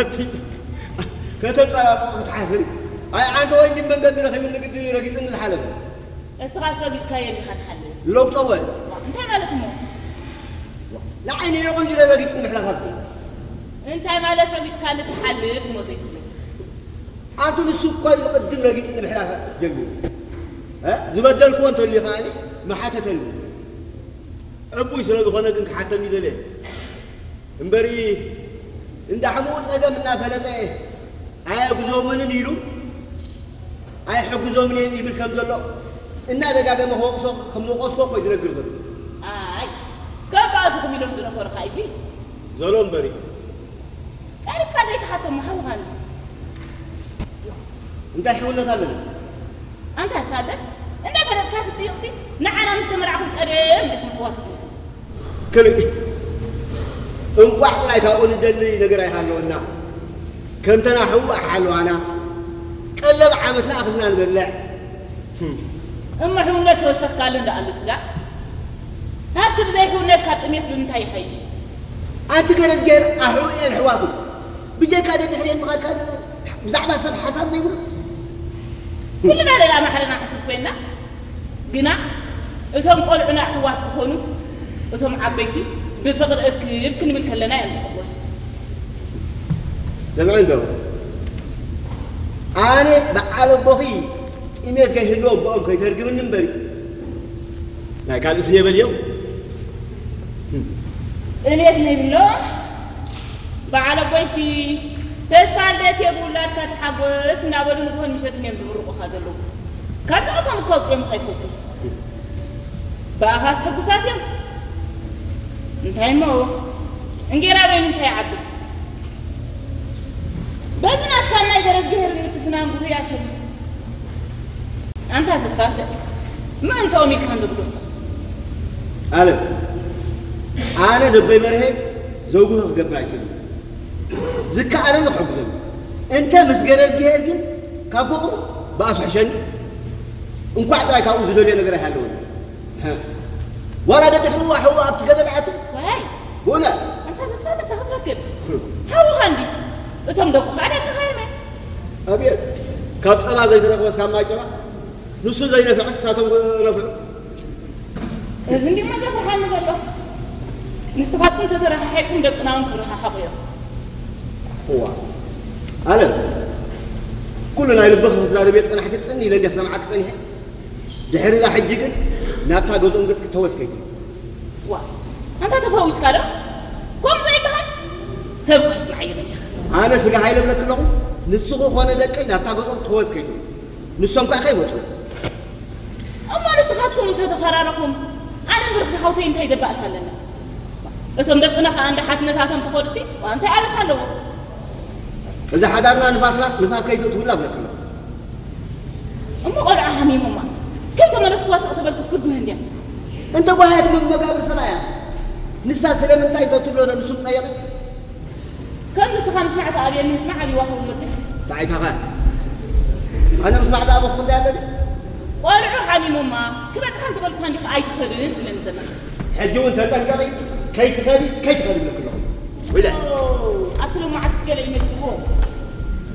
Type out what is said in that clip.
ኣቲ ከተጸባብቑ ክትሓስሪ። ኣይ፣ ኣንተ ወይ እንዲ መንገዲ ረኺብኒ ግዲ ረጊጽኒ ዝሓለፈ። እስኻስ ረጊጽካዮ እንዲኻ ትሓልፍ። ለውጦ ወል። ዋ፣ እንታይ ማለት እሞ? ንዓይ ነየቑ እንዲ ረጊጽኒ ምሕላፍ ኣብቲ። እንታይ ማለት ረጊጽካኒ ትሓልፍ እሞ ዘይትብሎ? ኣንቱ ንሱ እኮ እዩ ቅድም ረጊጽኒ ምሕላፍ ጀሚሩ። እ? ዝበደልክዎ እንተልዩ ከኣኒ መሓተተኒ። ዕቡይ ስለ ዝኾነ ግን ክሓተኒ ደልየ። እምበሪ እንዳ ሕሙኡ ጸገም እናፈለጠ ኣየግዞምንን ኢሉ ኣይሕግዞምን እየ ይብል ከም ዘሎ እናደጋገመ ክወቕሶ ከም ዝወቐስኮ እኮ እዩ ዝነግር ዘሎ። ኣይ፣ ከም ባእስኹም ኢሎም ዝነገሩኻ እዩ። ዘሎ እምበሪ። ቀሪብካ ዘይትሓቶም ሓውኻን እንታይ ሕውነት ኣለና? ኣንታ ሳለ እንዳፈለጥካ ትጽይቕሲ ንዓና ምስ ተመርዓኹም ቀደም ዲኹም ኣሕዋት ኢኹም። ክልእ እንቋዕ ጥራይ ካብኡ ንደሊ ነገር ኣይሃለወና። ከምተና ሕዋ ሓለዋና ቀለብ ዓመትና ኣኽልና ንበልዕ። እሞ ሕውነት ተወሰኽካሉ እንዳኣሉ ጽጋ ካብቲ ብዘይ ሕውነት ካብ ጥሜት ብምንታይ ይሓይሽ? ኣንቲ ገረዝጌር ኣሕኡ እየን ኣሕዋቱ። ብጀካ ደድሕሪኤን ምኻድካ ደ-፣ ብዛዕባ ሰብ ሓሳብ ዘይብሉ። ኩልና ደላ ማሕረና ሕስብ ኮይና፣ ግና እቶም ቆልዑና ኣሕዋት ክኾኑ፣ እቶም ዓበይቲ ብፍቕሪ እክብ ክንብል ከለና እዮም ዝሕጎሱ። ስምዒ እንዶ፣ ኣነ በዓል ኣቦኺ ጥሜት ከይህልዎም ብኦም ከይተርግምኒ እምበሪ፣ ናይ ካልእስ እየ በልዮም። ጥሜት ነይብሎም። በዓል ኣቦይሲ፣ ተስፋ ልደት እየ ብውላድካ ተሓጎስ እናበሉ ንግሆን ምሸትን እዮም ዝምርቑኻ ዘለዉ። ካብ ዝቐፎም እኮ ኣውፅኦምኻ ይፈቱ። ብኣኻስ ሕጉሳት እዮም። እንታይ እሞ፣ እንጌራ በይኑ እንታይ ይዓብስ? በዚ ናትካ ናይ ገረዝግሄርን ምትፍናን ጉህያት እዮም። ኣንታ ተስፋ ልደት፣ ምእንትኦም ኢልካ እንዶ ግደፎ። ኣለም፣ ኣነ ደበይ በርሄ ዘውግሆ ክገብር ኣይክእልን። ዝከኣለኒ ክሕግዞም። እንተ ምስ ገረዝግሄር ግን ካብ ፍቕሩ ብኣሱ ሕሸኒ። እንኳዕ ጥራይ ካብኡ ዝደልዮ ነገር ኣይሃለወኒ። ዋላ ደድሕርዋ ሕዋ ኣብቲ ገደል ኣቱ። ዋይ! ብኡነ ኣንታ ተስፋ ልደት ክትረክብ። ሓውኻ እንዲ። እቶም ደቁ ከዓ ደቅኻ እዮም። ኣብየት! ካብ ጸባ ዘይተረኽበስ ካብ ማይ ጸባ። ንሱ ዘይነፍዕስ ንሳቶም ነፍዑ። እዚ እንዲሞ ዘፍርሓኒ ዘሎ። ንስኻትኩም ተተረሓሒቕኩም ደቅና እውን ክረሓሓቑ እዮም። እዋ። ኣለም። ኩሉ ናይ ልብኺ ክዛረብ እየ ዝጸናሕኪ ጽን ኢለ እንዲየ ክሰምዓኪ ጸኒሐ። ድሕሪ እዛ ሕጂ ግን ናብታ ገዝኦም ገጽኪ ተወስ ከይትብሊ። ዋ፣ ኣንታ ተፈዊስካ ዶ? ከምኡ ዘይበሃል? ሰብ እኮ ስምዓዮ በጃኻ። ኣነ ስጋ ሃይለ እብለኪ ኣለኹ፣ ንስኺ ኾነ ደቀይ ናብታ ገዝኦም ተወስ ከይትብሉ። ንሶም ከኣ ከይመጹ። እሞ ንስኻትኩም እንተተፈራረኹም፣ ኣነን ብርኽቲ ሓውተይ እንታይ ዘባእስ ኣለና? እቶም ደቅና ከኣ እንዳ ሓትነታቶም ተኸዱሲ፣ ዋ፣ እንታይ ኣበሳ ኣለዎ? እዚ ሓዳርና ንፋስና፣ ንፋስ ከይትእትውላ እብለኪ ኣለኹ። እሞ ቆልዓ ሃሚሞማ፣ ከይተመለስኩዋ ስቕ ተበልክስ ክትጉህ እንድያ። እንተ ጓህያት መመጋብር ሰብኣያ፣ ንሳ ስለምንታይ ተትብሎ ዶ ንሱም ጸየቐ? ከምዚ እስኻ ምስማዕ ተኣብየኒ፣ ምስማዕ ኣብይዋ ክብል ወደይ። እንታይ ኢልካ? ኣነ ምስማዕ ዝኣበኹ እንታይ ኣለኒ? ቆልዑ ሓሚሞማ፣ ክበጽሓ እንተበልኩኻ እንዲኻ ኣይትኸድን ትብለኒ ዘለኻ። ሕጂ እውን ተጠንቀቒ፣ ከይትኸዲ፣ ከይትኸዲ እብለኪ ኣለኹ። ወይለ። ኦ፣ ኣብቲ ሎማዓትስ ገለ እዩ መጺእዎ።